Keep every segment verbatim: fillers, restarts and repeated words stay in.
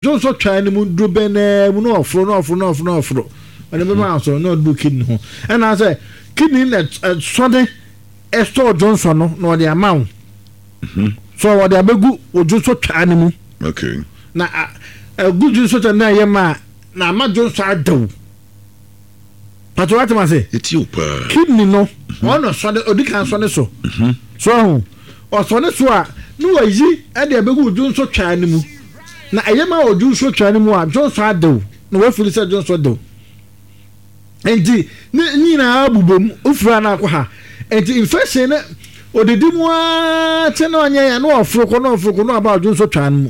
Dwonsɔ twaa no mu duro bɛn naa mu na ɔforo na ɔforo na ɔforo na ɔforo ɔde bɛma asɔ na ɔde kidney ho. Ɛna sɛ kidney na ɛsɔne ɛsɔ dwonsɔ no na ɔde ama wo so ɔde abɛgu wo dwonsɔ twaa no mu. Okay. Na ɛgu dwonsɔ twaa no na ɛyɛ ma na ama dwonsɔ adaw pàtó wàtí ma se. Eti o paa. Kidney no ɔno sɔne odi kan sɔne so so ɔho ɔsɔne so a ne wayi ɛde abɛgu dwonsɔ twaa no mu. Na ɛyɛ ma wɔ dwonsɔ twaa no mu a dwonsɔ adaw na wafiri sɛ dwonsɔ daw nti ne nyinaa bobɔ mu ofiri a na akɔ ha nti infection ne odidi mu aa kyɛ na ɔnyɛ ya na ɔforo kɔ na ɔforo kɔ na ɔba dwonsɔ twaa no mu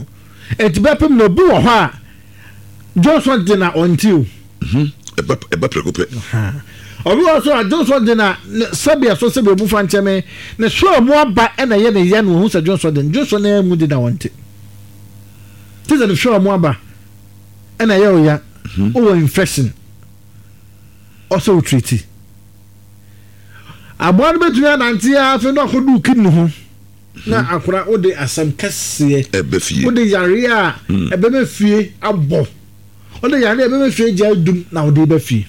nti bɛpem na obi wɔ hɔ a dwonsɔ de na ɔnti o. Ɛba ɛba prɛko pɛ. Obi wɔ so a dwonsɔ de na sɛbi ɛso sɛbi obu fa nkyɛn ne so a mu aba ɛna ɛyɛ ne ya na ohun sɛ dwonsɔ de dwonsɔ na mu de na ɔnti te sɛ ne so a mu aba ɛna ɛyɛ ɔya ɔwɔ infection ɔsɛ ɔtiriti aboa no bɛtumi anante afei na ɔkɔdu kidney ho na akora wode asɛm kɛseɛ ɛbɛ fie wode yareɛ a ɛbɛmɛ fie abɔ wode yareɛ a ɛbɛmɛ fie gya dum na wode bɛ fie.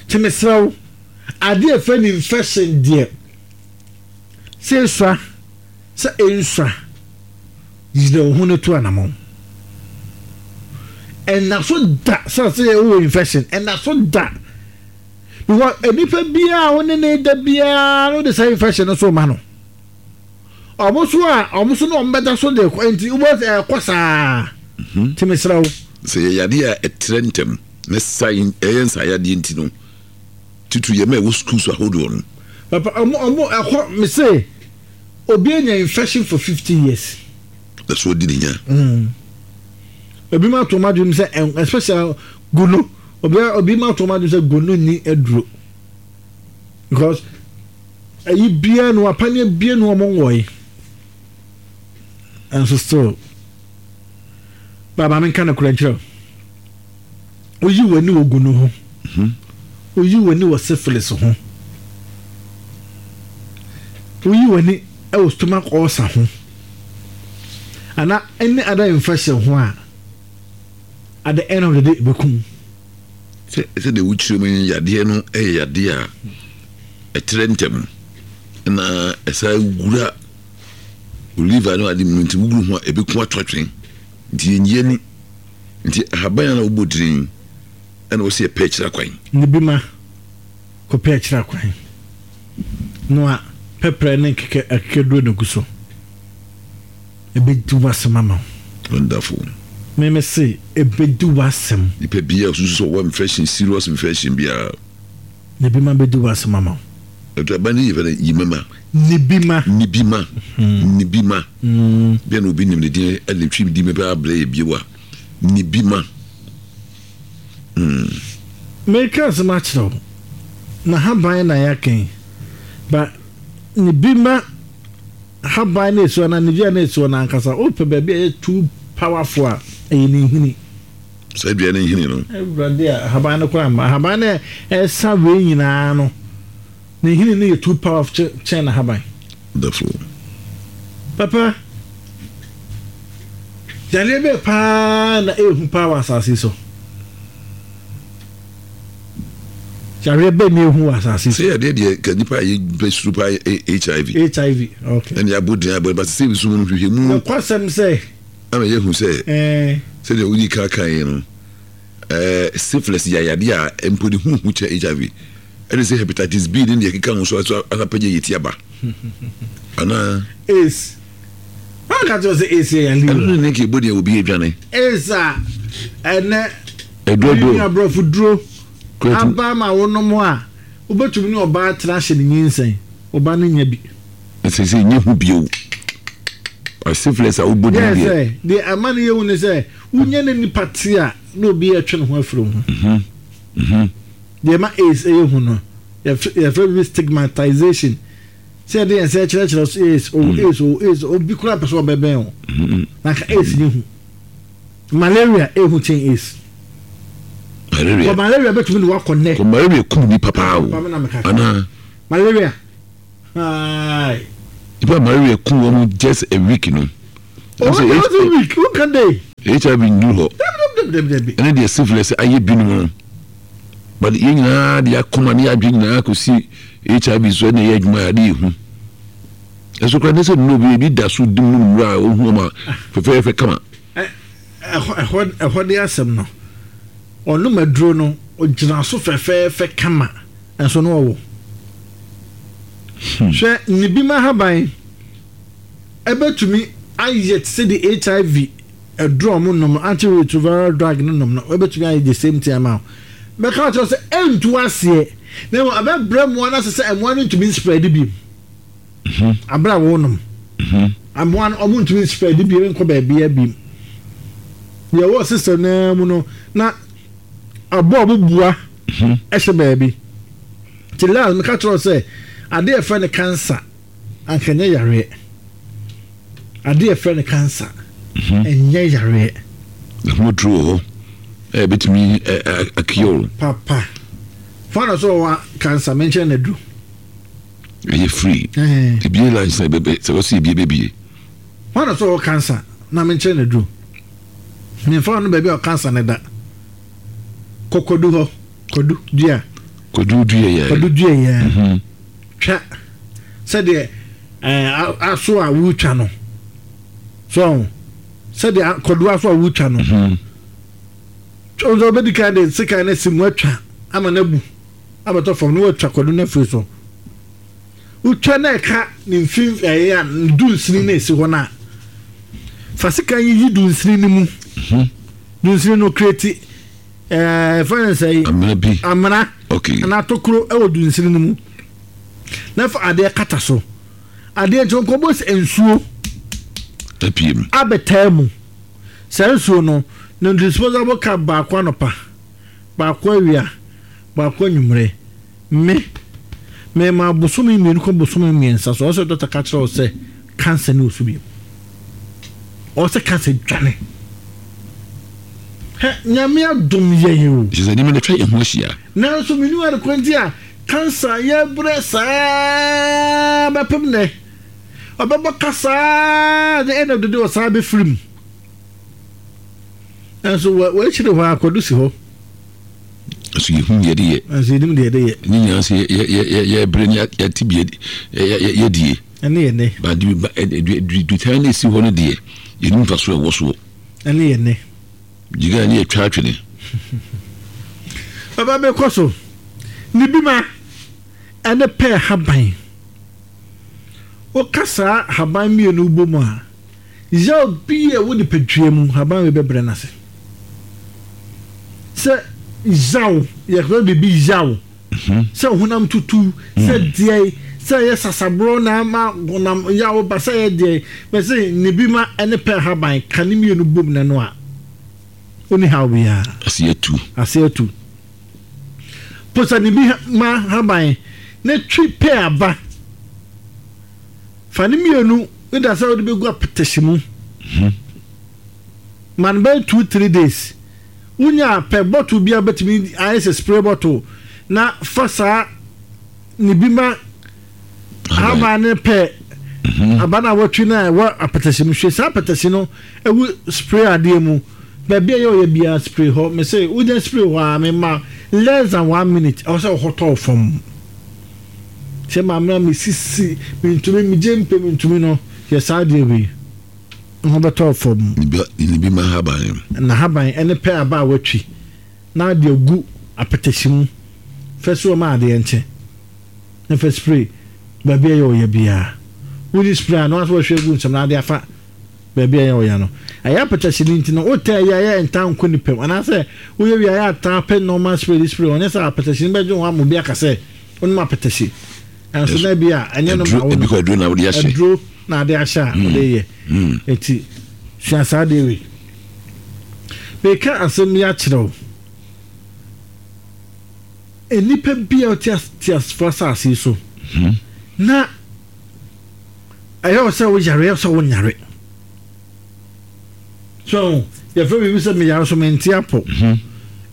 Nti mesrɛ wo, adeɛ ɛfɛ ne infection deɛ sɛ esua sɛ ensua yire wo ho no to anamɔ ɛna so da sɛ sɛ wowɔ infection ɛna so da because nipa biara wo ne ne da biara no de saa infection no so ma no ɔmo so a ɔmo so na ɔmo bɛda so de kɔ nti wobɛ sɛ ɛkɔ saa. Nti mesrɛ wo, sɛ yɛ yadeɛ a ɛtrɛ ntɛm na sa ɛyɛ nsayadeɛ nti no titiri yɛ ma ɛwɔ schools ahodoɔ no. Papa, ɔmo ɔmo ɛkɔ mese obi anya infection for fifty years. Na so ɔdi ne nya. Obi ma to ma dwom sɛ especially gono obi obi ma to ma dwom sɛ gono ni aduro because ɛyi bia no apaneɛ bia no ɔmo nwɔye ɛnso still baaba mi nka no kora nkyerɛ oyi w'ani wɔ gono ho, oyi w'ani wɔ syphilis ho, oyi w'ani ɛwɔ stomach ulcer ho ana any other infection ho a, at the end of the day ebekum. Sɛ sɛ de wokyerɛ mu yadeɛ no ɛyɛ yadeɛ a ɛtrɛ ntɛm na ɛsa wura liver no ade mu nti wuguru ho a ebeku ato atwene nti yɛnyie ni nti ahaban a na wobɔ dirin ɛna wɔsi ɛpɛ akyerɛ kwan. Ne bi ma kɔpɛ akyerɛ kwan no a pɛprɛ ne nkeka akekaduro na gu so ebedi w'asɛm ama wo. Wonderful. Mímí se ebedi w'asɛm. Nipa biara osusu sɛ ɔwɔ infection, serious infection biara. Ne bi ma bedi w'asɛm ama wo. Ɛtu aban ne yɛ fɛ no yimama. Ne bi ma. Ne bi ma. Ne bi ma. Bia na obi nim ne din ɛde twi di mepɛ abrɛ yɛ bio a ne bi ma. Meka asɛm akyerɛ wo na haban na yɛaka ba ne bi ma haban na esi hɔ na ne dua na esi hɔ na ankasa wopɛ baabi a ɛyɛ too powerful a ɛyɛ ne nhini. Saa dua ne nhini no. Awurade a haban no koraa mma haban no ɛsa wei nyinaa no ne nhini no yɛ too powerful kyɛn na haban. Wonderful. Papa, yareɛ bɛɛ paa na ehu paa wɔ asase so. Yareɛ bɛɛ na ehu wɔ asase so. Sɛ yadeɛ deɛ ka nipa a yɛ suro paa H I V. H I V, okay. Ɛna yɛabɔ din abɔ ba sɛ nsu mu no hwehwɛ mu. Nokwasɛm sɛ. Ama yɛhu sɛ sɛdeɛ wodi ka kan yi no ɛɛ syphilis yɛ yadeɛ a mpo ne huhu kyɛ H I V ɛne sɛ hepatitis B ne deɛ ɛkeka ho so so apagya yɛ ti aba anaa. AIDS wọn ka kyerɛ sɛ AIDS yɛ yale. Ɛno ne ne nka ɛbɔ deɛ obi adwane. AIDS a ɛnɛ ɛduro ne aborɔfo duro aba ma wonom a wobɛtumi ne ɔbaa tena ahyɛ ne nyinsɛn ɔbaa no nya bi. Ɛsɛ sɛ nyɛ hu bio syphilis a wobɔ din deɛ sɛ deɛ ama no yɛhu ne sɛ wonya ne nipa te a na obi ɛtwe ne ho afiri ho. Deɛ ma AIDS ɛyɛ hu no yɛfrɛ bi stigmatization sɛ yɛde yɛn sɛ kyerɛkyerɛ so AIDS o AIDS o AIDS obi kura pɛ sɛ ɔbɛbɛn o na ka AIDS nyɛ hu. Malaria ehu kyɛn AIDS. Malaria. Kɔ malaria bɛtumi de wakɔ nnɛ. Kɔ malaria kum nipa paa o anaa. Malaria haai. Nipa malaria kum wɔn just a week no Ɔwɔ week woka day. H I V nnuru hɔ. Dabi. Ɛne deɛ syphilis ayɛ binom no, but yɛn nyinaa de akoma ne yɛadwe nyinaa kɔsi H I V so. Ɛna ɛyɛ adwuma a ade yɛ hu. Ɛso koraa ne sɛ nnuro bi ebi da so dim no nnuro a ɔhu ama fɛfɛɛfɛ kama. ɛhɔ ɛhɔ ɛhɔ de asɛm no, ɔnom aduro no, ɔgyina so fɛfɛɛfɛ kama, ɛnso no ɔwɔ hwɛ ne bi ma haban ɛbɛtumi ayɛ te sɛ de H I V aduro a ɔmo nom, antiretroviral drug no nom no, ɛbɛtumi ayɛ the same thing ama wo. Bɛka kyerɛ sɛ ɛntu aseɛ na mmom ɛbɛbrɛ mmoa no ase sɛ mmoa no ntumi spread bi abere a wɔnom mmoa no, ɔmo ntumi spread bi nkɔ baabi bi deɛ ɛwɔ system naa mu no na aboa a ɔmo bua ɛhyɛ baabi. Ti last meka kyerɛ sɛ adeɛ yɛfrɛ no cancer anka nyɛ yareɛ. Adeɛ yɛfrɛ no cancer ɛnyɛ yareɛ. Ɛho aduro wɔ hɔ ɛ bɛtumi akiyɛ. Papa fana so ɔwɔ cancer, menkyerɛ no aduro. Ɛyɛ free. Ebie line sɛ bɛbɛ sɛ wɔsi ebie bɛbie. Fana so ɔwɔ cancer na menkyerɛ no aduro. Memfa no baabi a cancer ne da, kɔkɔdu hɔ, kɔdu dua. Kɔdu dua yɛ. Kɔdu dua yɛ, twa sɛdeɛ ɛɛ aso a wotwa no so, sɛdeɛ kɔdu aso a wotwa no nso, ɔbɛdi kan de sekan no si mu atwa ama no abu abɛtɔ fam na watwa kɔdu no afiri so. Wotwa na ɛka ne mfin ɛyɛ a dunsini na esi hɔ no a, fa sekan yi yi dunsini no mu. Dunsini no create ɛɛ fɛn sɛ yi. Amena bi. Amena. Okay. Anaa tokuro ɛwɔ dunsini no mu na fa adeɛ kata so. Adeɛ nkyɛn nkɔbɔ sɛ nsuo apie mu. Abɛtaa mu saa nsuo no na disposable cup baako anɔpa, baako awia, baako anwummerɛ. Me mɛma bosome mmienu kɔ bosome mmiɛnsa so, ɔsɛ dɔkta ka kyerɛ wo sɛ cancer ne osu bio, ɔsɛ cancer dwane. Hɛ, Nyame adom yɛn o. Kyerɛ sɛ nneɛma no atwa yɛn ho ahyia. Nanso menu ade kwan nti a cancer yɛbrɛ saa bɛpem nɛ, ɔbɛbɔ ka saa ne ɛna dede ɔsaa bɛfiri mu, nanso wɔakyire hɔ akɔdo si hɔ. Nso yɛhu deɛ de yɛ. Nanso yɛnim deɛ de yɛ. Ne nyinaa sɛ yɛbrɛ ne yɛte bi yɛdie. Ɛne yɛ nɛ. Dutan no ɛsi hɔ no deɛ, yɛnim mfa so ɛwɔ soɔ. Ɛne yɛ nɛ. Gyiga ne yɛtwa atwene. Baba, mekɔ so ne bi ma ɛne pɛɛ haban. Woka saa haban mmienu bɔ mu a, yaw bi a ɛwɔ nipadua mu, haban wei bɛbrɛ no ase. Sɛ yaw, yɛfrɛ biribi yaw sɛ honam tutu, sɛ deɛ sɛ ɛyɛ sasaborɔ na ama honam yaw ba, sɛ ɛyɛ deɛ bɛsɛ ne bi ma ɛne pɛɛ haban ka ne mmienu bom na no a, ɔni haw biara. Ase atu. Ase atu. Posa ne bi ma haban na twi pɛɛ aba, fa ne mmienu ne da sɛ wode bɛgu apɛtɛhye mu ma no bɛyɛ two three days. Wonya pɛ bottle bi a bɛtumi ayɛ sɛ spray bottle na fa saa ne bi ma haban ne pɛ aba no a wɔtwi no a ɛwɔ apɛtɛhye mu. Hwɛ saa apɛtɛhye no ɛwu spray adeɛ mu, baabi a ɛyɛ ɔyɛ biara, spray hɔ. Mɛ sɛ wonya spray hɔ a, mema less than one minute, ɛwɔ sɛ ɔhɔ tɔɔ fam sɛ maame a mesisi mentumi megye mpɛ mentumi no yɛ saa adeɛ wei ho bɛtɔɔ fam. Ne bi ma haban. Na haban ɛne pɛ aba a watwi na ade agu apɛtɛhye mu fɛ so ɔma adeɛ nkyɛn na fɛ spray baabi a ɛyɛ ɔyɛ biara. Wodi spray a na wasɔ wɔhwɛ gu nsɛm na ade afa baabi a ɛyɛ ɔyɛ no. Ɛyɛ apɛtɛhye no nti no, wotɛ ɛyɛ ɛyɛ nta nkɔ nipa mu anaasɛ woyɛ wie ayɛ ata pɛ normal spray de spray. Ɔnyɛ sɛ apɛtɛhye no bɛgye ho ama obi aka sɛ wonom apɛtɛhye, ɛnso na bi a ɛnyɛ no ma wo no. Aduro na wode ahyɛ. Aduro na ade ahyɛ a wode yɛ. Eti sua saa adeɛ wei. Meka asɛm yi akyerɛ wo, nnipa bi a ɔte teasefo asase yi so na ɛyɛ wɔ sɛ woyare, ɛyɛ sɛ wonyare so, yɛfrɛ biribi sɛ meyare so mente apɔ.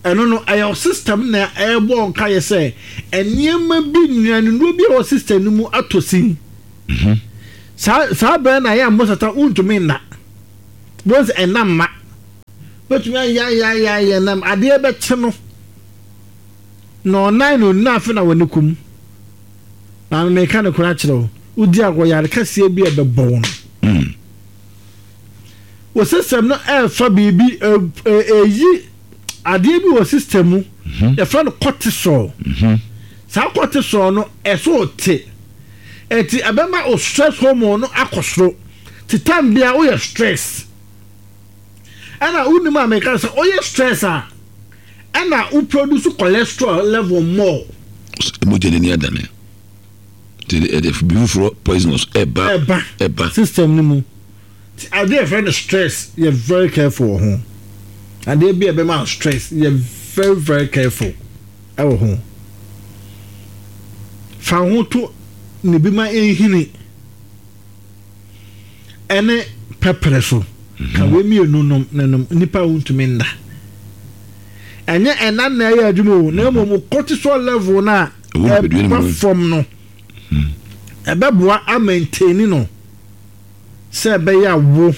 Ɛno no ɛyɛ wo system na ɛbɔ nka yɛ sɛ nneɛma bi, nnuanennuro bi a ɛwɔ system no mu atɔ sin. Saa saa bɛrɛ na ɛyɛ a mosata wontumi nna. Bɔn sɛ ɛnam ma bɛtumi ayayayayɛ nam adeɛ bɛkye no na ɔnan na ɔnina afe na wɔne kum. Maame, meka no koraa kyerɛ wo, wodi agorɔ, yare kɛseɛ bi a ɛbɛbɔ wo no Mm. Wɔ system no ɛɛfa biribi, ɛyi adeɛ bi wɔ system mu, yɛfrɛ no cortisol. Saa cortisol no ɛso te, ɛnti ɛbɛma o stress hormone no akɔ soro. Te time bia woyɛ stress, ɛna wonim a meka sɛ woyɛ stress a, ɛna wo produce cholesterol level more. Mogya n'ani adane nti ɛde bi foforɔ poisonous ɛba. Ɛba. Ɛba. System no mu. Nti adeɛ yɛfrɛ no stress, yɛ very careful wɔ ho. Adeɛ bi a ɛbɛma wo stress, yɛ very very careful ɛwɔ ho. Fa wo ho to ne bi ma ɛnhini ɛne pɛprɛ so ka wei mmienu nom ne nom. Nipa a wontumi nna, ɛnyɛ ɛna na ɛyɛ adwuma o, na mmom wo cortisol level no a ɛwɔ nipadua no ɛba mu. Fam no ɛbɛboa amaintain no sɛ ɛbɛyɛ a wo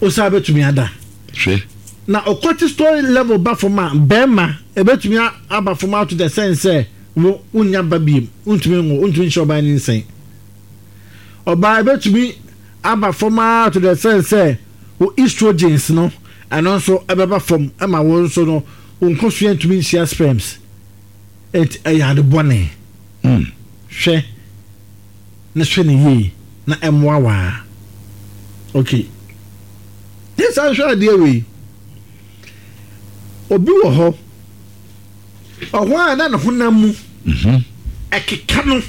wo saa bɛtumi ada. Hwɛ. Na o cortisol level ba fam a, bɛrima ɛbɛtumi a- aba fam out to the sense sɛ wo wonya ba biem, wontumi nwo, wontumi nhyɛ ɔbaa ne nsɛn. Ɔbaa ɛbɛtumi aba fam a to the sense sɛ wo estrogens no, ɛno nso ɛbɛba fam, ɛma wo nso no wo nkosua ntumi nhyia sperms. Ɛnti ɛyɛ ade bɔne. Mm. Hwɛ ne hwɛ ne yie na ɛmmoa waa. Okay, yɛsan hwɛ adeɛ wei. Obi wɔ hɔ, ɔhɔ a na ne honam mu Mhm. ɛkeka no.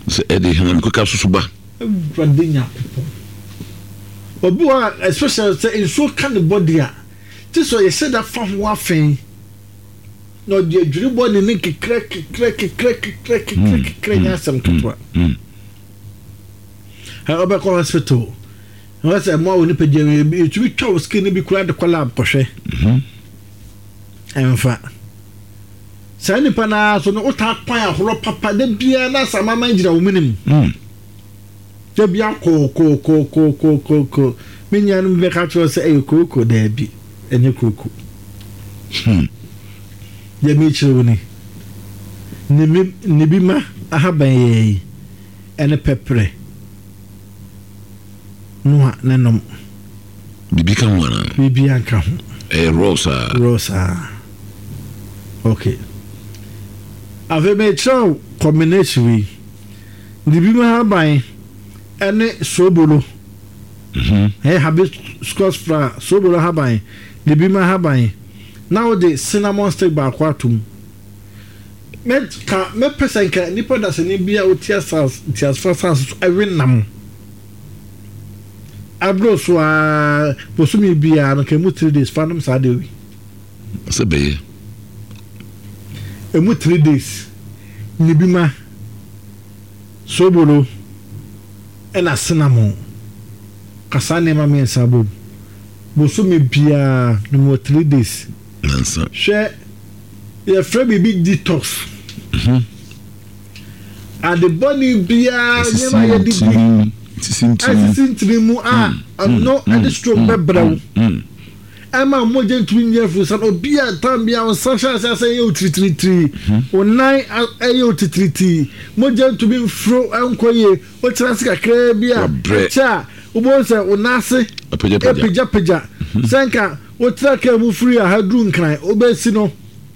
Sɛ ɛde hanam keka soso ba. Awurade Nyankopɔn! Obi wɔ hɔ a, especially sɛ nsuo ka ne body a, te sɛ ɔyɛ da fa ho afɛn na ɔde adwiri bɔ ne ne kekra kekra kekra kekra kekra kekra, nyɛ asɛm ketewa. Mm. Ɛ ɔbɛkɔ hospital na wɔsɛ mmoa wɔ nipadua mu, yɛtumi twa wo skin no bi koraa de kɔ lab kɔhwɛ. Mhm. Ɛmfa saa nipa naa so no, wotaa kwan ahorɔ papa da biara na asamama gyina wo menim. Mm. Da bia kookookookookooko, me nuanom bɛka kyerɛ wo sɛ ɛyɛ kooko. Daabi, ɛnyɛ kooko. Hmm. Deɛ mekyerɛ wo ni, ne mi- ne bi ma ahaban yɛ yi ɛne pɛprɛ noa ne nom. Biribi ka ho anaa? Biribiara nka ho. Ɛyɛ raw saa? Raw saa. Okay, afei mekyerɛ wo combination wei, ne bi ma ahaban ɛne sobolo. Mhm. Ɛyɛ hibiscus flower, sobolo ahaban, ne bi ma ahaban, na wode cinnamon stick baako atom. Mɛka mɛpɛ sɛ nka nipa dasani bi a wote asase ntiasefo asase so ɛwe nam aburo so a, bosomi biara no, nka emu three days fa nom saa de wi. Sɛ bɛyɛ. Emu three days ne bi ma sobolo ɛna cinnamon kasa, nneɛma mmiɛnsa bom, bosomi biara no mu three days. Nansa. Hwɛ, yɛfrɛ biribi detox. Mhm. Ade bɔne biara, nneɛma a yɛde di sisi ntini. Ɛsisi ntini mu a, ɛno ɛde stroke bɛbrɛ wo. Mm. Ɛma mogya ntumi nyɛ afurusa no. Obi a tam bi a wo nsa hyɛ ase asɛ ɛyɛ wo tiritiritiri, wo nan a- ɛyɛ wo titiritii, mogya ntumi mforo ɛnkɔ yie, wotena ase kakraa bi a, Wabrɛ. ɛkyɛ a, wobɛhu sɛ wo nan ase apagyapagya. Apagyapagya sɛ nka wotena kaa mu firi aha duru Nkran, wobɛsi no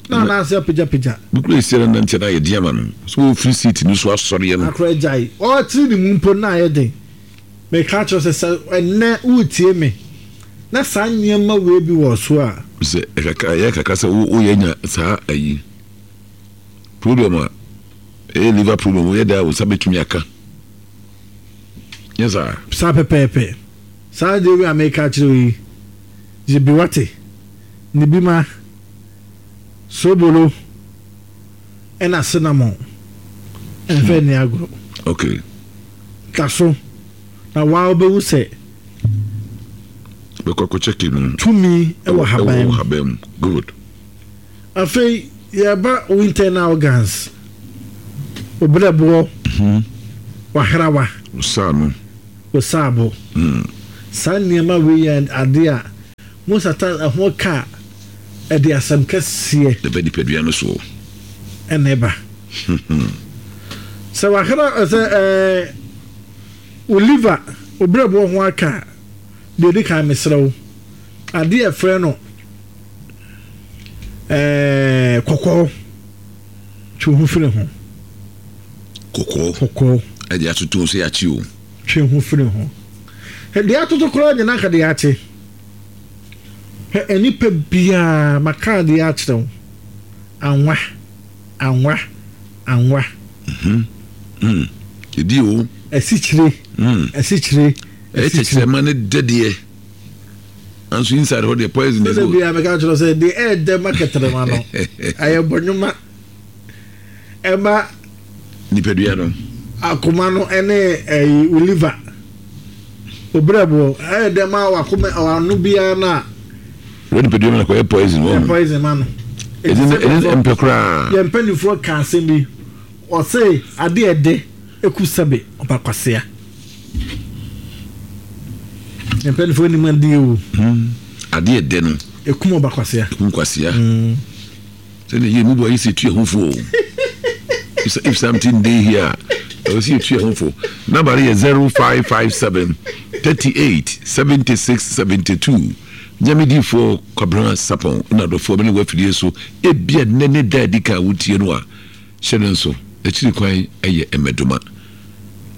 na nan ase apagyapagya. Bukura esi na nante na ayɛ den ama no so, wɔfiri seat no so asɔreɛ no. Akora gyae, ɔtiri ne mu mpo na ayɛ den. Meka kyerɛ sɛ sɛ ɛnnɛ woretie me na saa nneɛma wei bi wɔ so a, sɛ ɛkakra ɛyɛ kakra sɛ wo woyɛ nya saa ayi problem a ɛyɛ liver problem, woyɛ da a wo nsa bɛtumi aka nyɛ saa. Saa pɛpɛɛpɛ. Saa deɛ wei a meka kyerɛ wo yi, gye bi wate, ne bi ma sobolo ɛna cinnamon, ɛmfɛ nni agorɔ. Okay ka so na waa wobɛhu sɛ bɛkɔ akɔkyɛke no. Tumi ɛwɔ haban ɛwɔ mu. Haban mu, good. Afei yɛba wo internal organs, wo berɛboɔ, wahrawa, saa no, wo saabo. Mm. Saa nneɛma wei yɛ adeɛ a mosata ɛho ka a ɛde asɛm kɛseɛ ɛbɛ nipadua no soɔ. Ɛna ɛba sɛ wakra sɛ ɛɛ wo liver, wo brɛboɔ ho aka a, deɛ ɛdi kan, mesrɛ wo, adeɛ a ɛfrɛ no ɛɛ kɔkɔɔ, twe wo ho firi ho. Kɔkɔɔ? Kɔkɔɔ. Ɛde atoto sɛ yɛakye o. Twe ho firi ho. Deɛ atoto koraa nyina ka deɛ akye. Hwɛ, nipa biara maka adeɛ akyerɛ wo, anwa, anwa, anwa. Ɛdi o. Asikyire. Mm. Asikyire. Ɛyɛ kyɛkyerɛma ne dɛdeɛ, nanso inside hɔ deɛ, poison. Sɛ is biara meka kyerɛ sɛ deɛ ɛɛdɛ ma kɛtɛrɛma no ɛyɛ bɔnwoma ɛma nipadua no. Akoma no ɛne ɛyi, wo liver, obrɛboɔ, ɛyɛ dɛ ma wakoma ano biara no a wɔ nipadua mu na kɔyɛ poison ɛyɛ wɔ poison ma no. Ɛdi ɛdi mpɛ koraa. Yɛn mpanimfoɔ ka asɛm bi, ɔse adeɛ ɛdɛ eku sɛbe ɔba kwasea. Yɛn mpanimfoɔ nim adeɛ o. Hmm. Adeɛ ɛdɛ no ekum ɔba kwasea. Ekum kwasea. Sɛdeɛ yɛ mu bu ayi sɛ etu ɛho fo o. if if something dey here, ɛwɔ sɛ etu ɛho fo. Number yɛ zero five five seven thirty eight seventy six seventy two. Nyamediifoɔ Kwabena Sapɔn na adɔfoɔ bɛne wɔ afidie so. Ebia nnɛ ne da adi kan a wotie no a, hyɛ no nso, akyiri kwan yɛ Mmɛdoma,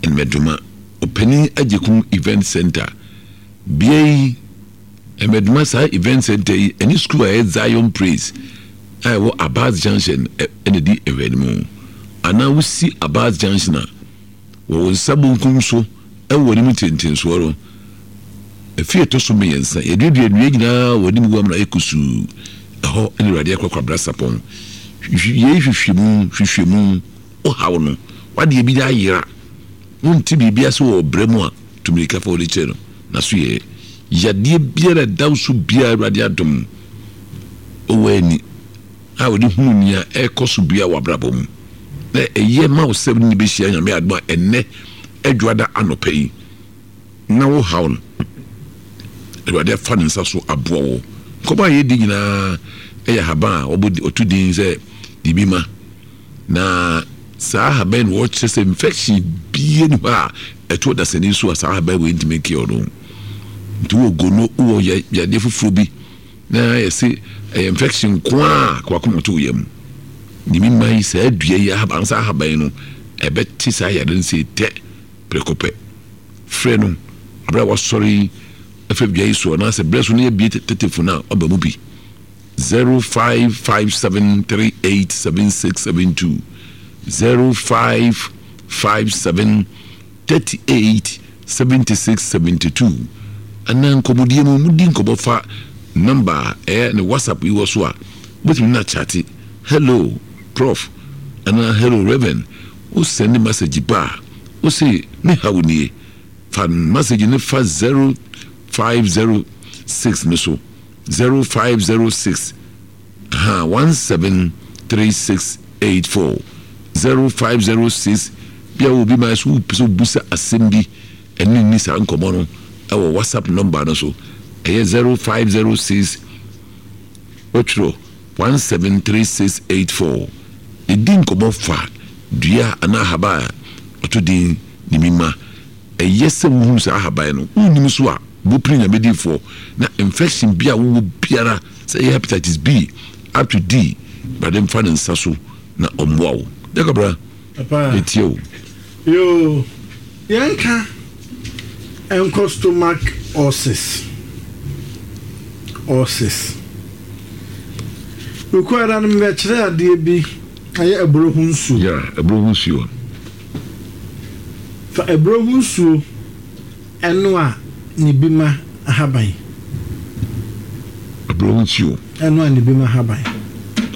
Mmɛdoma Ɔpanin Agyekum Event Center. Bea yi, Mmɛdoma, saa event center yi ɛne school a ɛyɛ Zion Praise a ɛwɔ Abaz Junction ɛna di nhwɛnimu, anaa wosi Abaz Junction a, wɔ wo nsa bonkum so ɛwɔ anim ntentensoɔ no, efi ɛtɔ so mmiɛnsa, yɛduadua nnua nyinaa wɔ anim wɔ amuna ayɛ kusuu. Ɛhɔ ɛna Awurade akɔ Kwabena Sapɔn. Yei hwehwɛmu hwehwɛmu ɔhaw no wadeɛ bi ayera, wonte biribi ase wɔ ɔbrɛ mu a, tumirika fa wɔde kyerɛ no na so yɛ yadeɛ biara ɛda wo so biara. Awurade adom ɔwɔ ani a wɔde hunu nea ɛrekɔ so bia wɔ abrabɔ mu na ɛyɛ ma wo sɛ ne bɛhyia. Nyame adom a, ɛnnɛ Adwada anɔpa yi na wo haw no, Awurade afa ne nsa so aboa wo. Nkɔmɔ a yɛdi nyinaa ɛyɛ ahaban a wɔbɔ ɔto din sɛ biribi ma na saa ahaban no wɔkyerɛ sɛ infection bie ni hɔ a ɛto dasani so a saa ahaban wei ntumi nkeɛ ɔno. Nti wɔ gono, wɔ yadeɛ foforɔ bi na yɛse ɛyɛ infection nko a kɔakoma to yam ne mi ma yi, saa dua yi ahaban, saa ahaban no ɛbɛte saa yadeɛ no sɛ tɛ prɛko pɛ. Frɛ no abere a wasɔre yi afɛ dua yi so, anaasɛ berɛ so no yɛbie tetefo no a ɔba mu bi, zero five five seven three eight seven six seven two, zero five five seven thirty eight seventy six seventy two. Anaa nkɔmmɔdie mu, mudi nkɔmmɔ fa number a ɛyɛ ne WhatsApp yi wɔ so a, wobɛtumi no akyate, "Hello Prof" anaa "Hello Reverend". Wo send message ba a, wo se me haw nie, fa message ne fa zero five zero six ne so, zero five zero six ha one seven three six eight four, zero five zero six. Bia wo bi ma so wopɛ sɛ wobusa asɛm bi ɛne ni saa nkɔmmɔ no ɛwɔ WhatsApp number no so, ɛyɛ zero five zero six wɔtwerɛ one seven three six eight four. Ɛdi nkɔmmɔ fa dua anaa ahaba a ɔto din ne mi ma. Ɛyɛ sɛ wohunu saa ahaban no, wonnim so a, bopere Nyamediifoɔ na infection bi a wowɔ biara, sɛ ɛyɛ hepatitis B up to D, Awurade mfa ne nsa so na ɔmmoa wo. Jakabra, ɛtie o. Yo, yɛnka nkɔ stomach ulcers ulcers Okuada no mbɛkyerɛ adeɛ bi, ɛyɛ aburo ho nsuo. Yeah, aburo ho nsuo. Fa aburo ho nsuo ɛno a ne bi ma ahaban. Aburo ho nsuo. Ɛno a ne bi ma ahaban.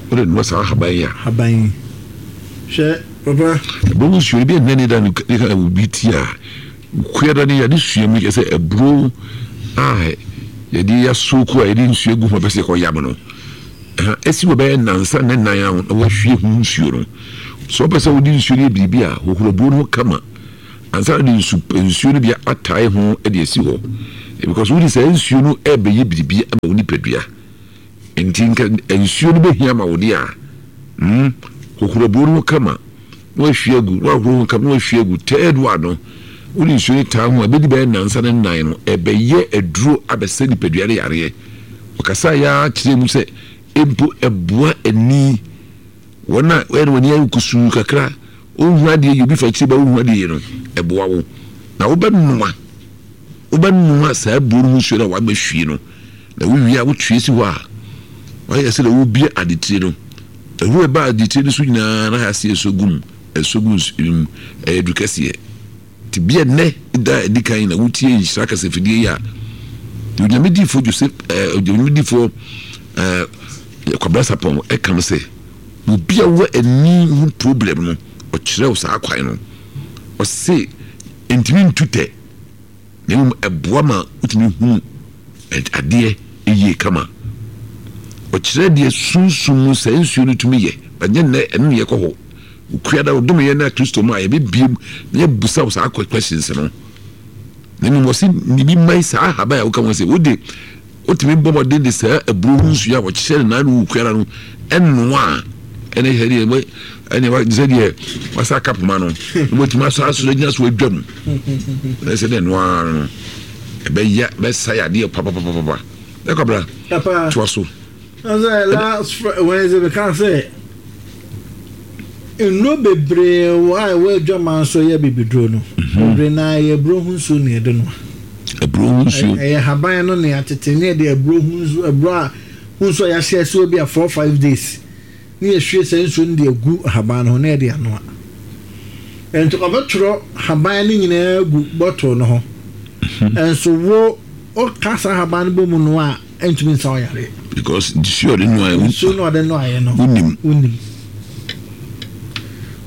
Wode noa saa ahaban yi a. Ahaban yi, hwɛ papa. Aburo ho nsuo ebi ɛnɛ ne da ne ka obi ti a kuada ne yɛde sua mu yɛ sɛ aburo a yɛde yɛasooko a yɛde nsuo gu ho pɛ sɛ yɛkɔyam no, ɛsi wɔ bɛyɛ nansa ne nan a na wahwie ho nsuo no. Sɛ wopɛ sɛ wode nsuo no yɛ biribi a, hohoro aburo no ho kama. Ansa de nsu nsuo no bi atae ho de asi hɔ, because wodi sɛ nsuo no ɛbɛyɛ biribi ama wo nipadua. Nti nka nsuo no bɛhia ma wo de a, mm hohoro aburo no ho kama na wahwie agu, na wahoro ho kama na wahwie agu. Third one no, wode nsuo no taa ho a, ɛbɛdi bɛyɛ nnansa ne nnan no, ɛbɛyɛ aduro abɛsɛ nipadua no yareɛ. Ɔkasa yɛ ara kyerɛ mu sɛ mpo ɛboa ani, wɔn a wɔyɛ no wɔn ani ayɛ kusuu kakra, wohu adeɛ yi, obi fa akyire ba wohu adeɛ yi no, ɛboa wo. Na wobɛnoa wobɛnoa saa aburo no ho nsuo no a wabɛhwie no, na wowie a wotue si hɔ a, wayɛ sɛ deɛ wobie adetire no, ɛhuro ɛba adetire no so nyinaa na aseɛ ɛsɔ gu mu, ɛsɔ gu nsuo mu, ɛyɛ du kɛseɛ. Nti bia nnɛ da a ɛdi kan na wotie nhyira kasafidie yi a, deɛ Onyame difoɔ Joseph ɛɛ Onyame difoɔ ɛɛ Kwabena Sarpong ɛka no sɛ, obi a wɔ ani ho problem no, ɔkyerɛ wo saa kwan no. Ɔse ntumi ntu tɛ, na mmom ɛboa ma wotumi hunu adeɛ yie kama. Ɔkyerɛ deɛ sunsum mu saa nsuo no tumi yɛ, ɛnyɛ nnɛ ɛno na yɛkɔ hɔ. Okua da ɔdom yɛn na Kristo mu a yɛbɛbie mu na yɛbusa wo saa questions no. Na mmom ɔse ne bi mman saa ahaban a woka ho sɛ wode wotumi bɔ mmɔden de saa aburo ho nsuo a wɔkyerɛ no naa no wɔ kuara no ɛnoa a, ɛne sɛ deɛ ɛne sɛ deɛ wasa aka poma no na wɔtumi asɔ asoro agyina so adwa mu na sɛ deɛ noa no ɛbɛyɛ bɛsa yadeɛ papapapapa. Ɛkɔbra toa so. Sɛ last Wednesday meka sɛ nnuro bebree wɔ a ɛwɔ adwaman so yɛ bibiduro no, bebree na yɛ aburo ho nsuo na yɛde noa. Aburo ho nsuo ɛyɛ haban no na yɛatete ne yɛde aburo ho nsuo, aburo a ho nsuo a yɛahyɛ ase bi a four five days ne yɛhwie saa nsuo no de agu haban no ho na yɛde anoa. Nti ɔbɛtwerɛ haban no nyinaa gu bottle no ho, nso wo ɔka saa haban no bɔ mu no a, ɛntumi nsa ɔyare. Because nsuo ɔde noa nsuo no ɔde noaeɛ no wonim. Wonim.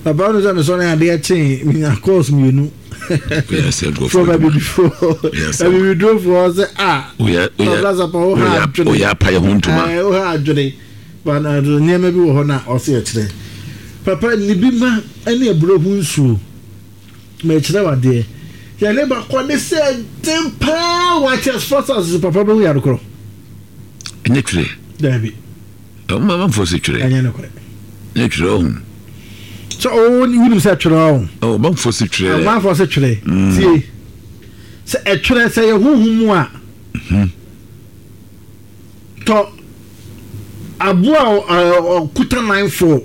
Papa no sɛ mesɔre adeɛ kyee menya course mmienu from abibifoɔ, abibidurofoɔ sɛ a ɔblasapa wo ha adwene, woyɛ apayɛ ho ntoma, wo ha adwene. But nneɛma bi wɔ hɔ na ɔsɛ yɛkyerɛ papa ne bi ma ne aburo ho nsuo. Mɛkyerɛ wadeɛ yɛne bakɔ ne sɛ den paa wate asopɔ so papa bɛhu yare korɔ. Ɛnyɛ twerɛ. Daabi. Ɔmanfoɔ sɛ twerɛ. Ɛnyɛ nokorɛ. Ɛnyɛ twerɛ ɔho. Sɛ ɔwɔ wonim sɛ twerɛ ɔho. Ɔmanfoɔ sɛ twerɛ. Ɔmanfoɔ sɛ twerɛ. Tie sɛ ɛtwerɛ sɛ yɛ honhom mu a, tɔ aboa a ɔkuta nan fo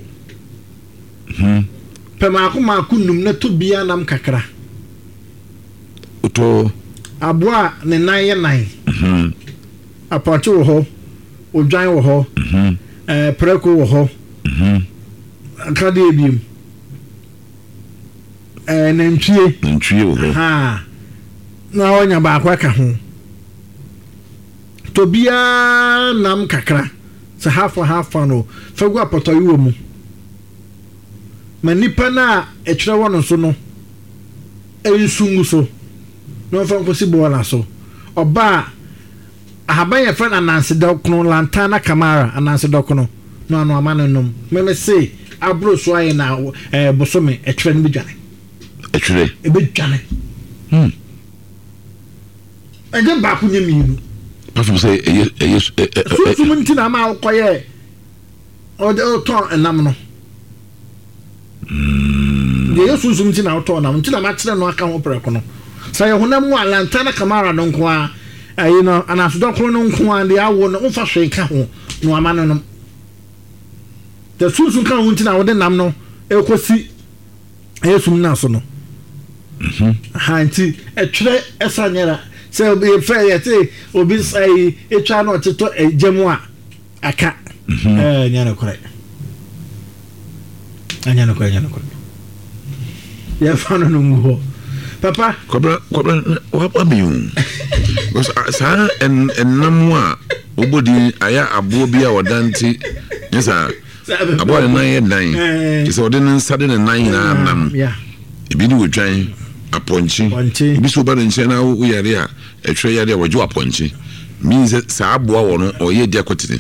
pɛ maako maako num na tɔ bia nam kakra. Wotɔ aboa a ne nan yɛ nan. Apɔnkye wɔ hɔ, odwan wɔ hɔ, ɛɛ prɛko wɔ hɔ, akadeɛ ebiem, ɛɛ nantwie. Nantwie wɔ hɔ. Haa na ɔnya baako aka ho. Tɔ biara nam kakra sɛ hafa hafa no fa gu apɔtɔyowa mu ma nipa no a ɛtwerɛ wɔ no so no nsu ngu so na ɔmfa nkɔsi bɔɔla so. Ɔbaa ahaban yɛ fɛ no ananse dɔkono, lantana camara, ananse dɔkono no ano ama no nom. Mɛmɛ se aboro so ayɛ na ɛɛ bosome ɛtwerɛ no bɛdwane. Ɛtwerɛ ɛbɛdwane. Hmm. Ɛnyɛ baako nyɛ mmienu. Pastor sɛ ɛyɛ ɛyɛ ɛ sunsum nti na ama wokɔyɛ ɔde ɔtɔn ɛnam no. Deɛ ɛyɛ sunsum nti na wotɔn nam nti na makyerɛ no aka ho prɛko no. Sɛ yɛ honam mu a, lantana camara no nko a, ɛyi no ananse dɔkono no nko a, deɛ awo no wofa hwee nka ho na wama no nom. Deɛ sunsum ka ho nti na wode nam no ɛkɔsi ɛyɛ sum no so no. Ha nti ɛtwerɛ ɛsa nyɛra sɛ yɛfɛ yɛte obi ɛyi etwa na ɔtetɔ ɛgya mu a aka ɛɛ nyɛ nokorɛ, ɛnyɛ nokorɛ, ɛnyɛ nokorɛ. Yɛfa no no ngu hɔ papa. Kwabra kwabra wabi o, because saa ɛnam a wobɔ din ayɛ aboɔ bi a ɔdante nyɛ saa aboa ne nan yɛ nan te sɛ ɔde ne nsa de ne nan nyinaa nam. Ebi ne wɔdwan apɔnkye, ebi sɛ woba ne nkyɛn na woyare a ɛtwerɛ yare a wɔgye wɔ apɔnkye mean sɛ saa aboa wɔ no ɔyɛ di akɔtene.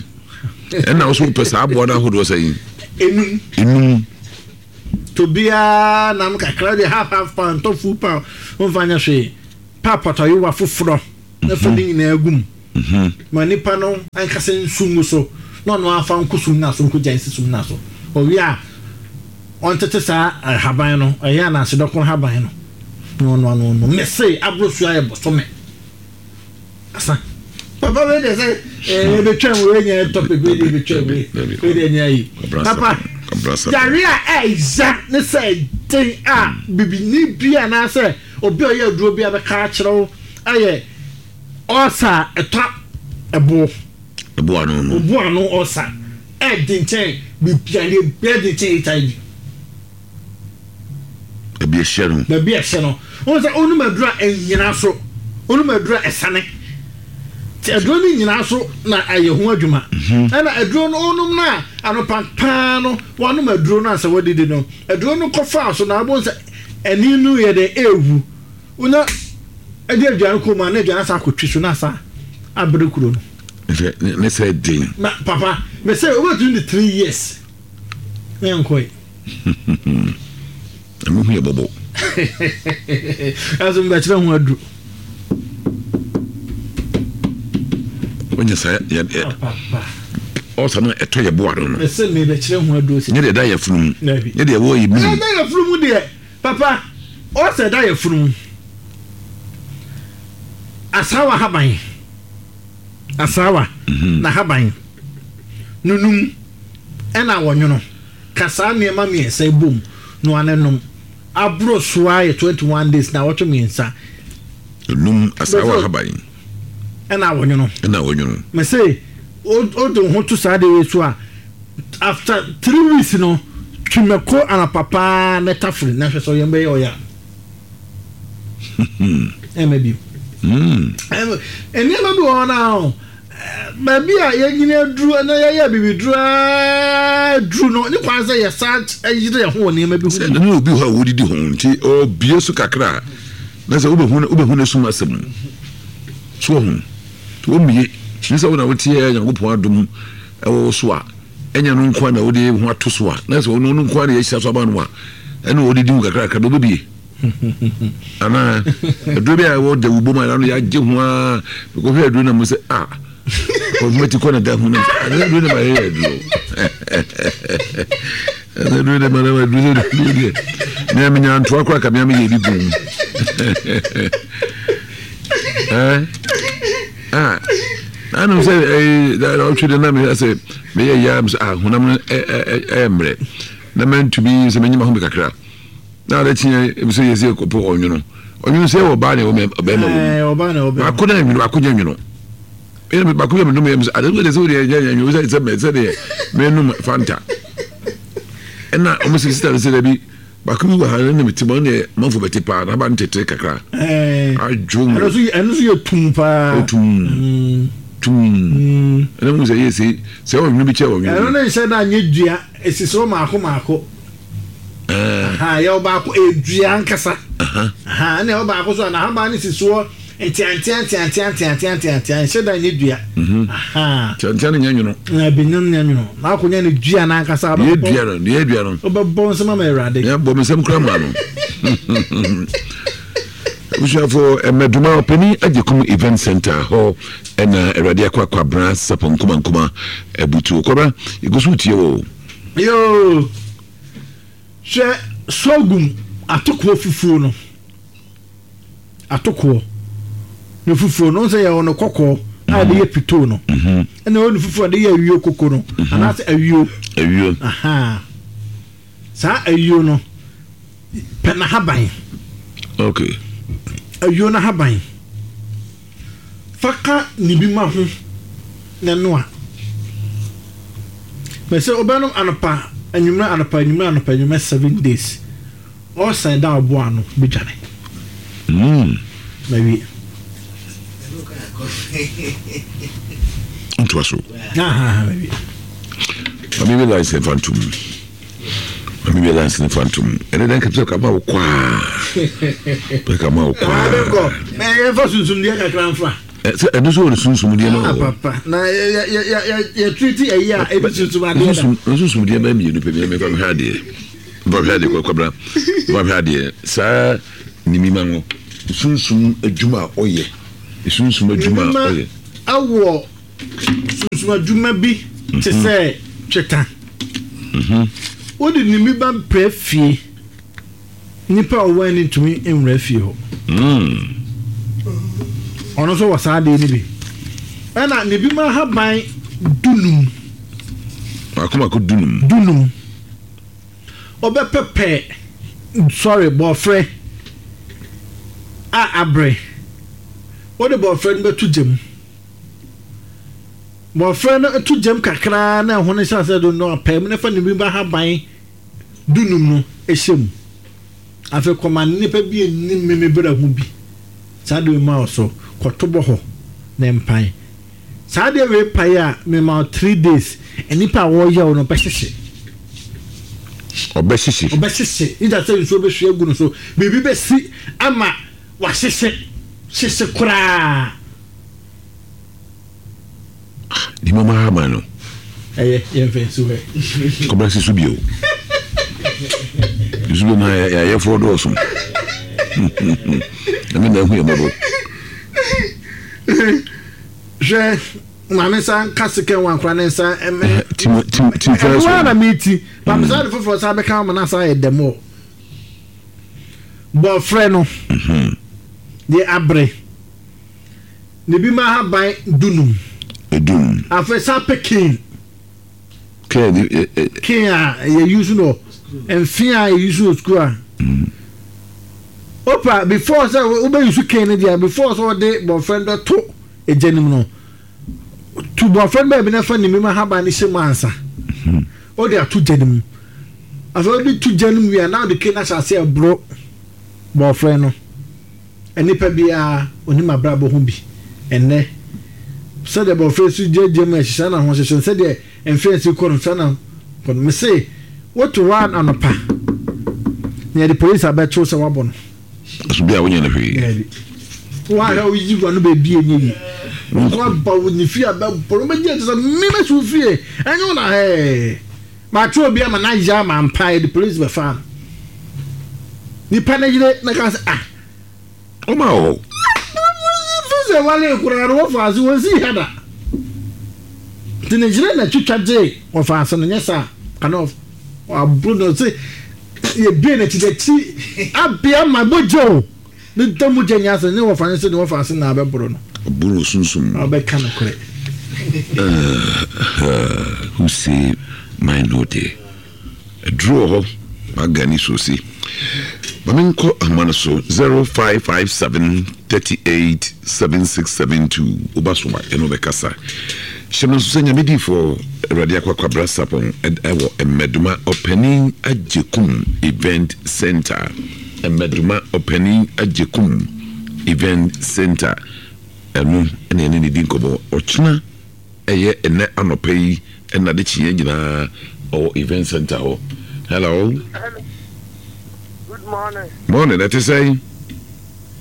Ɛna wo so wopɛ saa aboa no ahodoɔ sɛ yi enum enum. To biara nam kakra de half half pound tɔ full pound wɔmfa nyɛ hwee. Pa apɔtɔyewa foforɔ na fa ne nyinaa gu mu. Ma nipa no ankasa nsu ngu so na ɔno afa nko sum na so nko gya nsi sum na so. Ɔwie a ɔntete saa haban no, ɛyɛ ananse dɔkono haban no. Na ɔno ano no mese aboro so ayɛ bɔsɔme. Asa. Papa wei de sɛ ɛɛ ebetwa mu wei nyɛ topic wei de ebetwa mu wei wei de nyɛ ayi. Papa yare a ɛya ne sɛ den a bibini bi anaasɛ obi a ɔyɛ aduro bi a bɛka akyerɛ wo ɛyɛ ɔsa ɛtɔ ɛbo. Ɛbo ano no. Ɛbo ano ɔsa ɛdi nkyɛn bibi a ɛdi nkyɛn H I V. Baabi ɛhyɛ no. Baabi ɛhyɛ no. Wɔn sɛ onum aduro a ɛnyina so, onum aduro a ɛsane. Ti aduro no nyinaa so na ayɛ ho adwuma. Ɛna aduro no onum na anopa paa no wɔnom aduro no ansa wɔdidi no. Aduro no kɔfa so na abɔ sɛ ɛni no yɛ dɛ ewu. Una ɛde aduane kɔ mu a na aduane asa akɔtwi so na asa abere kuro no. Ne ne sɛ den. Na papa mɛ sɛ obetumi de three years. Ne nkɔe. Ɛmu hu yɛ bɔbɔ. Ɛso mbɛkyerɛ ho aduro. Onye sa yɛ yɛ ɔsa no ɛtɔ yɛ boa no no. Ɛsɛ mi bɛkyerɛ ho aduro si. Nyɛ deɛ ɛda yɛ funu mu. Nyɛ deɛ ɛwɔ yɛ mu. Ɛda yɛ funu mu deɛ papa ɔsɛ ɛda yɛ funu mu. Asawa haban. Asawa na haban. Nunum ɛna wɔnwono. Kasa nneɛma mmiɛnsa bom no ane nom. Aboro soa yɛ twenty one days na wɔtwe mmiɛnsa. Nunum asawa haban. Ɛna wɔnwono. Ɛna wɔnwono. Mɛ sɛ o de ho to saa de wei so a after three weeks no twemɛko anapa paa na tafere na hwɛ sɛ ɔyɛ mbɛyɛ ɔyɛ a. Ɛmɛ bi. Nneɛma bi wɔ hɔ na baabi a yɛnyini aduru na yɛyɛ bibi duru aduru no ne kwan sɛ yɛsa yere yɛn ho wɔ nneɛma bi ho. Sɛ ɛno obi hɔ a wɔdidi ho nti ɔbie so kakra na sɛ wobɛhu wobɛhu ne sum asɛm so wɔ ho nti wɔmmie ne sɛ wo na woteɛ Nyankopɔn adom ɛwɔ wo so a ɛnyɛ no nko a na wode ho ato so a na sɛ ɔno no nko a na yɛahyira so aba no a ɛne wɔdidi ho kakrakra na wobɛbie anaa aduro bi a ɛwɔ dawubom a ɛno yɛagye ho a mekɔhwɛ aduro na mu sɛ a ɔmati kɔ na da ho no aduro na mayɛ aduro aduro na ma aduro sɛ aduro deɛ mea menya ntoa koraa ka mea meyɛ bi gu mu ah anom sɛ ɔtwe de na mehwɛ sɛ meyɛ yɛ sɛ ah honam no ɛyɛ mmerɛ na mantumi sɛ menyima ho me kakra na ade kyeɛ sɛ yɛ sɛ kɔpɔ ɔnwono ɔnwono sɛ ɔbaa ne ɔbɛrima wɔ mu baako na nwono baako nyɛ nwono ɛna baako yɛ menom yɛ sɛ ade sɛ sɛ wodeɛ nyɛ nwono sɛ sɛ sɛ deɛ menom Fanta ɛna ɔmo sɛ sista no sɛ dabi baako bi wɔ ha ne mete mu ɔne manfo bɛte paa na aba no tete kakra adwo mu ɛno nso yɛ tum paa tum tum ɛna mu sɛ yɛ sɛ sɛ ɔnwono bi kyɛ ɔnwono ɛno ne nhyɛ da nyɛ dua esisi hɔ maako maako. Aha, yɛ ɔbaako edua nkasa. Aha, ɛna ɔbaako so na ahaban ne sisi hɔ ntiantia ntiantia ntiantia ntiantia nhyɛ da nyɛ dua. Aha. Ntiantia ne nyɛ nwono. Na ebi nyɛ nyɛ nwono. Na akɔnya ne dua na ankasa. Yɛ dua no, yɛ dua no. Ɔbɛbɔ nsɛm ama Awurade. Yɛ bɔ nsɛm kura ma no. Abusuafo mmɛdoma ɔpanin Agyekum Event Center hɔ ɛna Awurade akɔ akɔ abra sapɔn nkuma nkuma abutuo kɔbra egu so tie wɔ. Yoo. Hwɛ sorghum atokoɔ fufuo no atokoɔ ne fufuo no sɛ yɛwɔ no kɔkɔɔ a yɛde yɛ pitoo no ɛna ɛwɔ ne fufuo a yɛde yɛ awio koko no anaasɛ awio awio aha saa awio no pɛ n'ahaban okay awio n'ahaban fa ka ne bi ma ho na noa mɛ sɛ ɔbɛnom anɔpa anwummerɛ anɔpa anwummerɛ anɔpa anwummerɛ seven days ɔsan da ɔbo ano bɛdwane na wie ntoa so na wie mame bi lines ne fa ntom mame bi lines ne fa ntom ɛne dɛn kapsɛ kama wo kwaa pɛ kama wo kwaa yɛmfa sunsumdeɛ kakra mfa sɛ ɛno so wɔ ne sunsumdeɛ no wɔ papa na yɛtriti ayi a ɛbi sunsum adeɛ da sunsumdeɛ bɛɛ mmienu pɛ mmiɛ mefa mehwɛ adeɛ Bɔhwɛ adeɛ kɔkɔbra bɔhwɛ adeɛ saa nimima no sunsum adwuma a ɔyɛ sunsum adwuma a ɔyɛ awɔ sunsum adwuma bi te sɛ tweta. Wode nimiba mpɛ fie nipa a ɔwɔ ani ntumi nwura fie hɔ. Ɔno nso wɔ saa adeɛ no bi. Ɛna ne bi ma ahaban dunum. Mako mako dunum. Dunum. Ɔbɛpɛpɛ sorry bɔfrɛ a abrɛ. Wode bɔfrɛ no bɛto gyam. Bɔfrɛ no to gyam kakraa na ɛho no hyɛ asɛ do no apɛ mu na fa ne bi ba ahaban dunum no ɛhyɛ mu. Afei kɔma nnipa bi anim meme berɛ ho bi. Saa de ma wo so kɔto bɔ hɔ na mpan. Saa de wei pae a mema wo three days nnipa a wɔyɛ wo no bɛhyehye. Ɔbɛhyehye. Ɔbɛhyehye. Ida sɛ nsuo bɛhwie agu no so biribi bɛsi ama wahyehye hyehye koraa. Nima ma hama no. Ɛyɛ yɛmfa nsi hɔ. Kɔbra si so bio. Nsu bi ma yɛayɛfoɔ dɔɔso. Ɛme na ahu yɛ mmɔbɔ. Hwɛ maame nsa nka sika wɔn akora ne nsa ɛmɛ. Tim tim tim fɛn so. Ɛno ara na mi ti. Maame saa de foforɔ saa bɛka ama na saa yɛ dɛm o. Bɔfrɛ no. Deɛ abrɛ. Ne bi ma ahaban dunum. Edum. Afei saa pɛ cane. Cane ɛ ɛ. Cane a yɛ use no mfe a yɛ use no school a. Opa before sɛ wobɛ use cane no deɛ before sɛ wɔde bɔfrɛ no bɛto egya no mu no tu bɔfrɛ no baabi na fa ne bi ma ahaban no hyɛ mu ansa. Wode ato gya no mu. Afei wode to gya no mu wie a na wode cane no ahyɛ ase ɛboro bɔfrɛ no. Nipa biara onim abrabɔ ho bi ɛnɛ sɛdeɛ bɔfrɛ si gyinagyina mu ɛhyehyɛ na ho hyehyɛ sɛdeɛ mfɛnsi kɔ no saa na kɔ no mese woto hɔ anɔpa na yɛde polisi abɛkyew sɛ wabɔ no. So bi a wonyɛ no hwee. Daabi. Woahwɛ woyi wa no baabi ɛnyɛ yi. Woaba wo ne fie abɛbɔ no wobɛgye te sɛ mmemɛsi wo fie ɛnyɛ wo na hɛɛ. Makyerɛ obi ama no ayɛ ama mpa yɛde polisi bɛfa no. Nipa no yere na ka sɛ ah. Ɔma wɔ. Fi sɛ wale koraa no wɔfa ase wɔnsi ha da. Nti ne yere na twitwa gye wɔfa ase no nyɛ saa kana aburo no sɛ yɛbie n'akyi n'akyi abea ma mogya o ne da mogya nyɛ ase ne wɔfa ne sɛ ne wɔfa ase na abɛboro no. Aburo sunsum. Ɔbɛka no korɛ. Who say mine no day? Aduro wɔ hɔ magani so si. Mame nkɔ ahoma no so zero five five seven thirty eight seven six seven two. Woba so a ɛno bɛkasa. Hyɛ no nso sɛ Nyame diifoɔ Awurade Akwakwabra Sapɔn ɛwɔ Mmɛdoma Ɔpanin Agyekum Event Center. Mmɛdoma Ɔpanin Agyekum Event Center. Ɛno ɛna ɛne ne di nkɔmmɔ. Ɔkyena ɛyɛ ɛnɛ anɔpa yi ɛna de kyeɛ nyinaa ɔwɔ Event Center hɔ. Hello. Hello. Good morning. Morning, ɛte sɛn?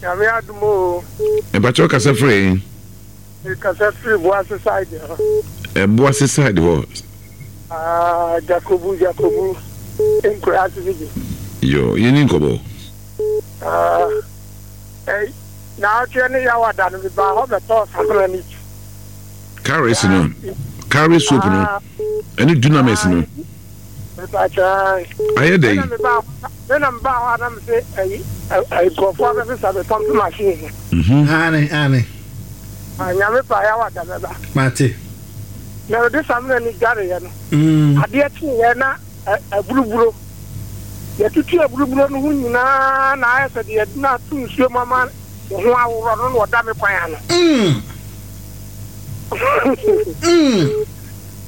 Nyame adom o. Mpakyɛw kasa firi? Kasa firi Boase side hɔ. Boase side hɔ. Ah, Jacobu, Jacobu. Nkura ase bi. Yo, yɛni nkɔbɔ. Ah, eh, na atwe ne yawada no ba hɔ bɛtɔ samina ni. Carries no. Carry soap no. Ɛne dunamis no. Ayɛ dɛ yi. Ɛna mba hɔ a na mese ɛyi nkurɔfoɔ abɛsesa me pump machine. Ane ane. Nyame pa yawada bɛba. Mate. Na ɔde samina ni dwareɛ no. Adeɛ kyeeɛ na aburuburo. Yɛtutu aburuburo no ho nyinaa na ayɛ sɛ deɛ yɛde no ato nsuo mu ama ne ho aworɔ no na ɔda me kwan ano.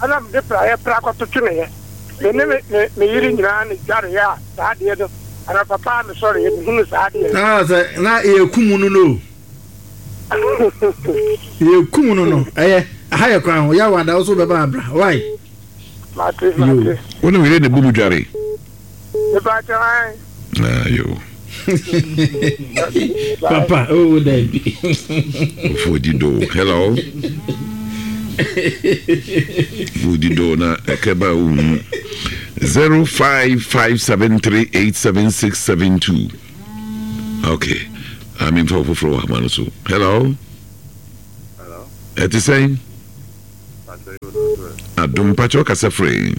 Ɛna mede praeɛ pra kɔto tweneɛ. Me ne me yere nyinaa ne dwareɛ a saa adeɛ no ana papa me sɔre yɛ mehunu saa adeɛ. Ah, sɛ na yɛkum no no. Yɛkum no no. Ɛyɛ aha yɛ kwan ho. Yɛawada wo so bɛba abra. Why? Mate, mate. Wo ne wo yere ne bu mu dware? Mepa kyɛw ae. Ah, yo. Papa, oh, Debbie. Ofodi do. Hello. Ofodi do na ekeba wu. Zero five five seven three eight seven six seven two. Okay. I'm in for foforɔ wɔ ahoma no so. Hello. Hello. Ɛte sɛn? Pastor, you don't do it. Adom mpakyɛ ɔkasa firi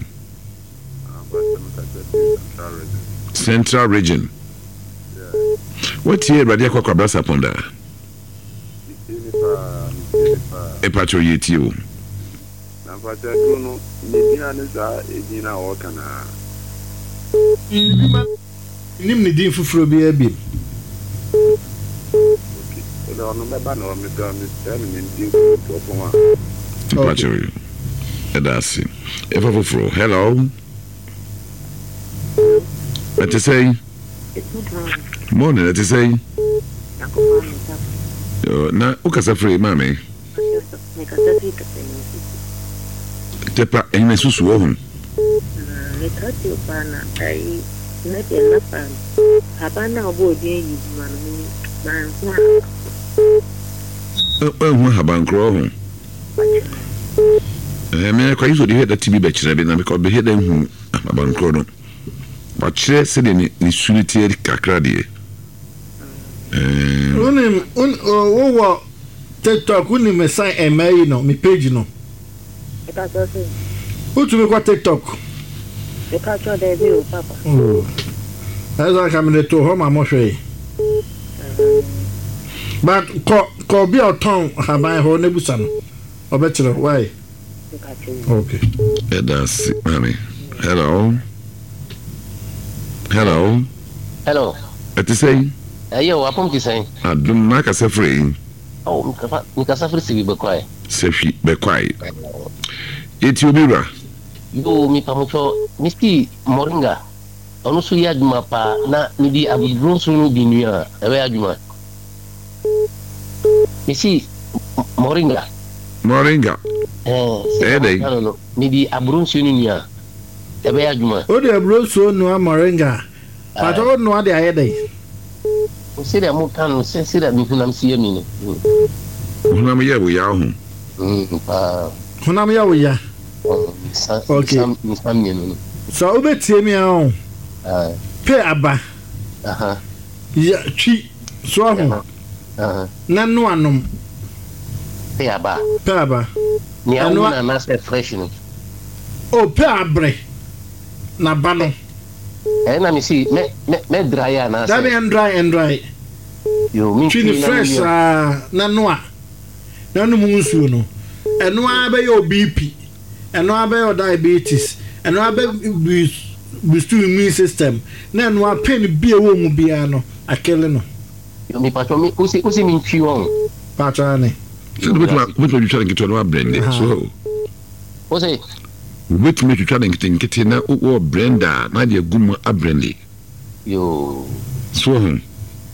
Um, Pastor, Pastor, Central Region. Central Region. Yeah. Watie Awurade akɔ akwabra sapɔn daa. Me tie nipa, me tie nipa. Ɛpakyɛ yɛ tie o. Na Pastor, duro no, ne din a ne saa edin na ɔka na. Biribi ma nim ne din foforɔ biara bi. Okay. Ɛdɛ ɔno bɛba na ɔmo pɛ ɔmo pɛ me ne din foforɔ pɔn a. Mpakyɛ yɛ. Ɛda ase. Ɛfa foforɔ. Hello. Ɛte sɛn? Morning, ɛte sɛn? Yo, na wokasa firi maame? Tepa ɛnyina susu wɔ ho. Meka paa na ayi na deɛ nafa no aban na ɔbɔ odin yi ma no mi manho a. Ɛho ahabankorɔ ho. Ɛɛ mɛ akɔ ayi sɛ ɔde hwɛ da ti bi bɛkyerɛ bi na mekɔ bɛhwɛ da hu ahabankorɔ no. Wakyerɛ sɛdeɛ ne ne su no teɛ kakra deɛ. Ɛɛ Wonim wowɔ TikTok, wonim san ɛmɛ yi no, me page no. Meka kyerɛ sɛ Wotumi kɔ TikTok. Meka kyerɛ dɛ bi o papa. Ɛsɛ aka mede to hɔ ma mohwɛ. But kɔ kɔ obi a ɔtɔn haban hɔ na busa no. Ɔbɛkyerɛ why. Meka kyerɛ Okay. Ɛda ase maame. Hello. Hello. Hello. Ɛte sɛn? Ɛyɛ o, apɔm te sɛn? Adom na akasa firi. Oh, mekasa mekasa firi Sɛhwi Bɛkwae. Sɛhwi Bɛkwae. Yɛti obi wura. Yo, mepamokyɛ mesi moringa. Ɔno nso yɛ adwuma paa na mede abibiro nso no bi nua a ɛbɛyɛ adwuma. Mesi moringa. Moringa. Ɛɛ, Ɛyɛ sɛ dɛn? no no mede aburo nsuo no nua a ɛbɛyɛ adwuma. Wode aburo nsuo noa moringa. Patɔ wo noa de ayɛ dɛn? Sɛdeɛ moka no sɛ sɛdeɛ me honam si yɛ mi no. Mm, Honam yɛ wo yaw ho. mm, paa. Honam yɛ wo ya. Mm, nsa Okay. nsa nsa mmienu no. Sɛ wobɛtie mi a o, Ah, pɛ aba aha, ya twi so aho aha. na noa nom. Pɛ aba. Pɛ aba. Nea Ɛno wo a- na anaasɛ fresh no. O pɛ abrɛ na ba no. Ɛyɛ na mesi mɛ mɛ mɛ dry anaasɛ. Dabi, ɛndry ɛndry. Yo, mi Twi ne fresh saa na noa na nom nsuo no. Ɛno ara bɛyɛ o B P. Ɛno ara bɛyɛ o diabetes. Ɛno ara bɛ boost immune system. Na ɛno ara pain bi a ɛwɔ mu biara no akele no. Yo, mi patro mi wosi wosi mi ntwi wɔn. Patro ne. Sɛ wobɛtumi wobɛtumi atwitwa ne nketewa na wablend so. Wosi. Wobɛtumi atwitwa ne nketenkete na wɔ blender a na de agu mu ablend. Yo. So ho.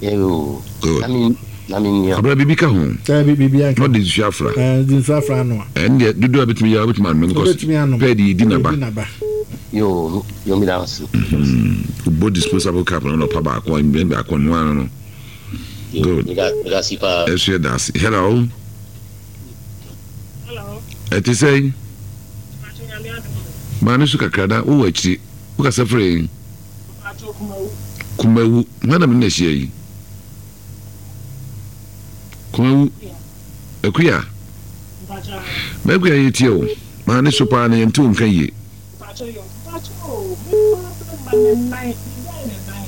Yo. Good. Na mi na mi nua. Abra biribi ka ho. Dabi, biribi anka. Na ɔde nsuo afra. Ɛɛ, de nsuo afra no a. Ɛn deɛ dodoɔ a bɛtumi yɛ a wobɛtumi anom. Wobɛtumi anom. Pɛɛ de yɛdi naba. Yɛdi naba. Yo, yo, mi da ase. Wobɔ disposable cup no na ɔpa baako a mbɛn baako no ano no. Yo, Good. mi da mi da ase paa. Ɛso yɛ da ase. Hello. Hello. Ɛte sɛn? Mpacho, Nyame adom. Maa ne so kakra na wowɔ akyiri. Wokasa firi? Mpacho, Kumawu. Kumawu. Hwan na mene na ahyia yi? Kumawu. Akuya. Mpacho. Makuya, yɛtie o. Maa ne so paa na yɛnte wo nka yie. Mpacho yo. Mpacho o. Me ba ba ma ne nan. Ne gyae ne nan.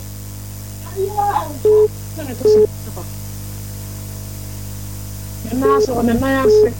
Ayɛ ɛnkɔ. Sɛ ne to so. Ne nan ase wɔ ne nan ase.